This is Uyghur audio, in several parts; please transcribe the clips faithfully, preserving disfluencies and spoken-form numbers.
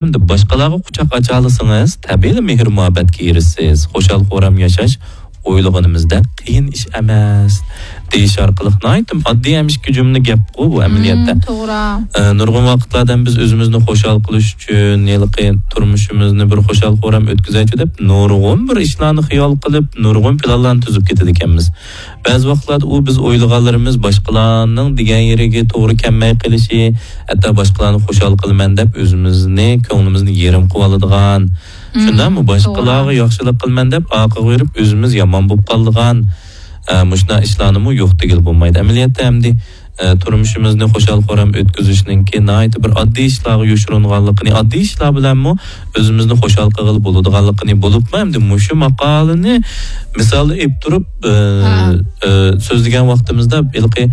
ئەمدى باشقىلارغا قۇچاق ئاچالىسىڭىز، تەبىئىيلا مېھىر-مۇھەببەتكە ئېرىشىسىز. خۇشال-خۇرام ياشاش ئويلىغىنىمىزدەك قىيىن ئىش ئەمەس، دېيىش ئارقىلىق ناھايىتى ئاددىي ھەم ئىككى جۈملە گەپقۇ بۇ ئەمەلىيەتتە. مم، توغرا. ئە، نۇرغۇن ۋاقىتلاردا بىز ئۆزىمىزنى خۇشال قىلىش ئۈچۈن، ھېلىقى تۇرمۇشىمىزنى بىر خۇشال-خۇرام ئۆتكۈزەيچۇ دەپ، نۇرغۇن بىر ئىشلارنى خىيال قىلىپ، نۇرغۇن پىلانلارنى تۈزۈپ كېتىدىكەنمىز. بەزى ۋاقىتلاردا ئۇ بىز ئويلىغانلىرىمىز باشقىلارنىڭ دېگەن يېرىگە توغرا كەلمەي قېلىشى، ھەتتا باشقىلارنى خۇشال قىلىمەن دەپ ئۆزىمىزنى، كۆڭلىمىزنى يېرىم قىلىۋالىدىغان، مم، شۇنداقمۇ؟ باشقىلارغا، توغرا، ياخشىلىق قىلىمەن دەپ ئارقىغا بېرىپ ئۆزىمىز يامان بولۇپ قالىدىغان، ئە، مۇشۇنداق ئىشلارنىمۇ يوق دېگىلى بولمايدۇ. ئەمەلىيەتتە ئەمدى ئە، تۇرمۇشىمىزنى خۇشال-خۇرام ئۆتكۈزۈشنىڭكى ناھايىتى بىر ئاددىي ئىشلارغا يوشۇرۇنغانلىقىنى، ئاددىي ئىشلار بىلەنمۇ ئۆزىمىزنى خۇشال قىلغىلى بولىدىغانلىقىنى، بولۇپمۇ ئەمدى مۇشۇ ماقالىنى مىسال ئېلىپ تۇرۇپ، ئە، ھە، ئە، سۆزلىگەن ۋاقتىمىزدا، ھېلىقى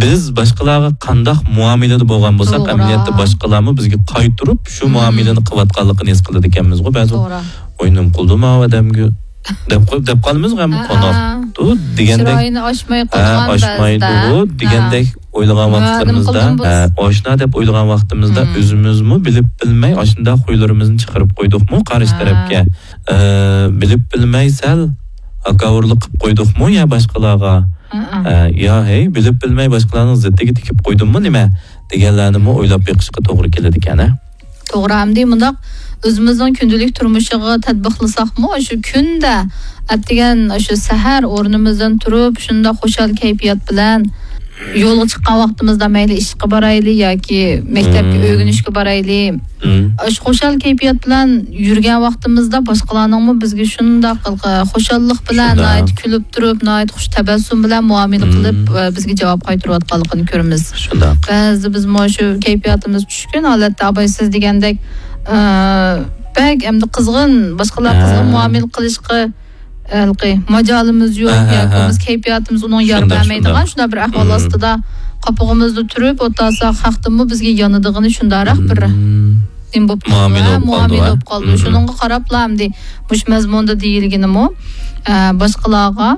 بىز باشقىلارغا قانداق مۇئامىلىدە بولغان بولساق، توغرا، ئەمەلىيەتتە باشقىلارمۇ بىزگە قايتۇرۇپ شۇ، مم، مۇئامىلىنى قىلىۋاتقانلىقىنى ھېس قىلىدىكەنمىزغۇ بەزى. توغرا. ۋاي، نېمە قىلدىم ئاۋۇ ئادەمگە دەپ قوي-، دەپ قالىمىزغۇ، ھەم، ھە، قوناقتۇ دېگەندەك. چىرايىنى ئاچماي، ھە، قويغان ئاچمايدۇ بەزىدە. دېگەندەك ئويلىغان ھە، ۋاقىتلىرىمىزدا، نېمە قىلدىم بۇ؟ ھە، ئاشۇنداق دەپ ئويلىغان ۋاقتىمىزدا، مم، ئۆزىمىزمۇ بىلىپ بىلمەي ئاشۇنداق خۇيلىرىمىزنى چىقىرىپ قويدۇقمۇ قارشى، ھە، تەرەپكە؟ ئە، بىلىپ بىلمەي سەل ھاكاۋۇرلۇق قىلىپ قويدۇقمۇ يا باشقىلارغا؟ ھە، ھە. ئە، يا ھەي، بىلىپ بىلمەي باشقىلارنىڭ زىتىگە تېگىپ قويدۇممۇ نېمە؟ دېگەنلەرنىمۇ ئويلاپ بېقىشقا توغرا كېلىدىكەن، ھە؟ توغرا، ئەمدى مۇنداق ئۆزىمىزنىڭ كۈندىلىك تۇرمۇشىغا تەتبىقلىساقمۇ، شۇ كۈندە ئەتىگەن شۇ سەھەر ئورنىمىزدىن تۇرۇپ، شۇنداق خۇشال كەيپىيات بىلەن يولغا چىققان ۋاقتىمىزدا، مەيلى ئىشقا بارايلى ياكى مەكتەپكە، مم، ئۆگىنىشكە بارايلى، مم، شۇ خۇشال كەيپىيات بىلەن يۈرگەن ۋاقتىمىزدا باشقىلارنىڭمۇ بىزگە شۇنداق خۇشاللىق بىلەن، شۇنداق، ناھايىتى كۈلۈپ تۇرۇپ، ناھايىتى خۇش تەبەسسۇم بىلەن مۇئامىلە، مم، قىلىپ، بىزگە جاۋاب قايتۇرۇۋاتقانلىقىنى كۆرىمىز. شۇنداق. بەزىدە بىزمۇ شۇ كەيپىياتىمىز چۈشكۈن ھالەتتە، ئاباي سىز دېگەندەك، ئە، بەك ئەمدى قىزغىن، باشقىلار قىزغىن، ھە، مۇئامىلە قىلىشقا، ھېلىقى ماجالىمىز يوق، ھە، ھە، ياكى، ھە، بولمىسا كەيپىياتىمىز ئۇنىڭ يار، شۇنداق، بەرمەيدىغان شۇنداق، شۇنداق بىر ئەھۋال، مم، ئاستىدا قاپىقىمىزدا تۇرۇپ ئولتۇرساق، خەقتىنمۇ بىزگە يانىدىغىنى شۇنداقراق بىر، مم، نېمە بولۇپ قالىدۇ، مۇئامىلە، ھە، بولۇپ قالىدۇ، مۇئامىلە بولۇپ قالىدۇ. مم. شۇنىڭغا قاراپلا ئەمدى مۇشۇ مەزمۇندا دېيىلگىنىمۇ، ئە، باشقىلارغا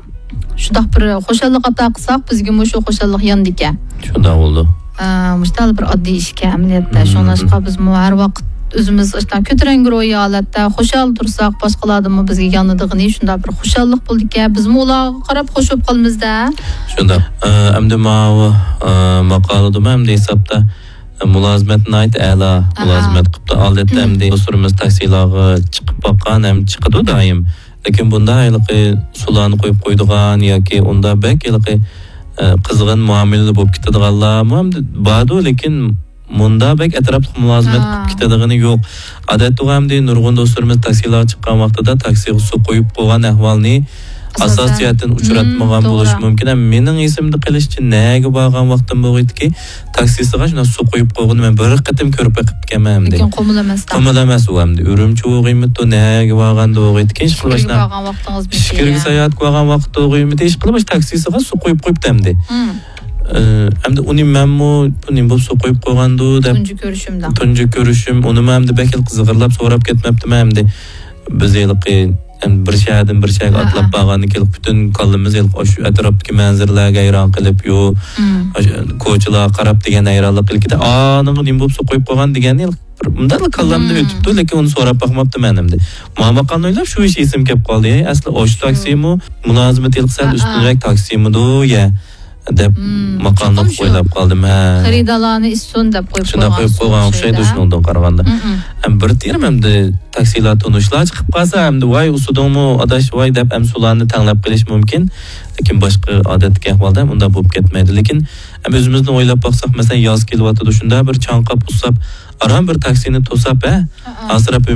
شۇنداق بىر خۇشاللىق ئاتا قىلساق، بىزگىمۇ شۇ خۇشاللىق يانىدىكەن. شۇنداق بولىدۇ. ئە، مۇشۇنداق بىر ئاددىي ئىشكەن ئەمەلىيەتتە. مم. شۇڭلاشقا بىزمۇ ھەر ۋاقىت ئۆزىمىز ئاشۇنداق كۆتۈرەڭگۈ روھىي ھالەتتە خۇشال تۇرساق، باشقىلاردىنمۇ بىزگە يانىدىغىنى شۇنداق بىر خۇشاللىق بولىدىكەن. بىزمۇ ئۇلارغا قاراپ خۇش بولۇپ قالىمىز-دە. شۇنداق. ئە، ئەمدى ماۋۇ، ئە، ماقالىدىمۇ ئەمدى ھېسابتا مۇلازىمەت ناھايىتى ئەلا، ئاھا، مۇلازىمەت قىپتۇ. ئادەتتە ئەمدى دوستلىرىمىز تاكسىلارغا چىقىپ باققان ھەم چىقىدۇ دائىم. لېكىن بۇندا ھېلىقى سۇلارنى قويۇپ قويىدىغان ياكى ئۇندا بەك ھېلىقى، ئە، قىزغىن مۇئامىلىدە بولۇپ كېتىدىغانلارمۇ ئەمدى باردۇ، لېكىن مۇندا بەك ئەتراپلىق مۇلازىمەت، ھا، قىلىپ كېتىدىغىنى يوق. ئادەتتىغۇ ئەمدى نۇرغۇن دوستلىرىمىز تاكسىلارغا چىققان ۋاقتىدا تاكسىغا سۇ قويۇپ قويغان ئەھۋالنى ئاساسىي، ئاساسىي جەھەتتىن ئۇچراتمىغان، مم، بولۇشى، توغرا، مۇمكىن. ھەم مېنىڭ ئېسىمدە قېلىشىچە نەگە بارغان ۋاقتىم بولغىيتتىكى، تاكسىسىغا شۇنداق سۇ قۇيۇپ قويغىنى مەن بىر قېتىم كۆرۈپ بېقىپتىكەنمەن ئەمدى. لېكىن قۇمۇل ئەمەس-تە. قۇمۇل ئەمەس ئۇ ئەمدى. ئۈرۈمچى بولغىيمىتى، نەگە بارغاندا بولغىيتتىكى، ئىشقىلىپ ئىچكىرىگە باشنا-، بارغان ۋاقتىڭىز ئىچكىرىگە ساياھەتكە بارغان ۋاقىت بولغىيمىتى، ئىشقىلىپ باش تاكسىسىغا سۇ قۇيۇپ قويۇپتۇ ئەمدى. مم. ئى، ئەمدى ئۇنى مەنمۇ، بۇ نېمە بولۇپ سۇ قۇيۇپ قويغاندۇ دەپ. تۇنجى كۆرۈشۈمدە. تۇنجى كۆرۈشۈم، ئۇنىمۇ ئەمدى بەك زىغىرلاپ سوراپ كەتمەپتىمەن ئەمدى. بىز ھېلىقى، ئەمدى بىر شەھەردىن بىر شەھەرگە، ھە، ئاتلاپ بارغاندىن كېيىن پۈتۈن كاللىمىز ھېلىقى ئاشۇ ئەتراپتىكى مەنزىرىلەرگە ھەيران قېلىپ، يو، مم، ئاشۇ كوچىلارغا قاراپ دېگەن ھەيرانلىق ئىلكىدە، ئانىڭغا نېمە بولۇپ سۇ قۇيۇپ قويغان دېگەننى ھېلىقى بىر مۇنداقلا كاللامدىن، مم، ئۆتۈپتۇ، لېكىن ئۇنى سوراپ باقماپتىمەن ئەمدى. مانا ماقالىنى ئويلاپ شۇ ئىش ئېسىمگە كەپ قالدى. ھەي، ئەسلى ئاشۇ شۇ تاكسىمۇ مۇلازىمىتى ھېلىقى سەل، ھە، ھە، ئۈستۈنرەك تاكسىمىدۇ، يە؟ دەپ، مم، ماقالىنى چوقۇم شۇ ئويلاپ قالدىم، ھە. خېرىدارلارنى ئىسسۇن دەپ قويۇپ شۇنداق قويۇپ قويغان ئوخشايدۇ، شۇنىڭدىن قارىغاندا. مم، مم. ھەم بىر تېرىم ئەمدى تاكسىلار تونۇشلار چىقىپ قالسا، ئەمدى ۋاي ئۇسسۇدۇڭمۇ ئاداش ۋاي دەپ ھەم سۇلارنى تەڭلەپ قېلىش مۇمكىن. لېكىن باشقا ئادەتتىكى ئەھۋالدا ھەم ئۇنداق بولۇپ كەتمەيدۇ. لېكىن ھەم ئۆزىمىزنى ئويلاپ باقساق، مەسىلەن، ياز كېلىۋاتىدۇ، شۇنداق بىر چاڭقاپ ئۇسساپ، ئاران بىر تاكسىنى توساپ، ھە، ھە، ھە، ئاسراپ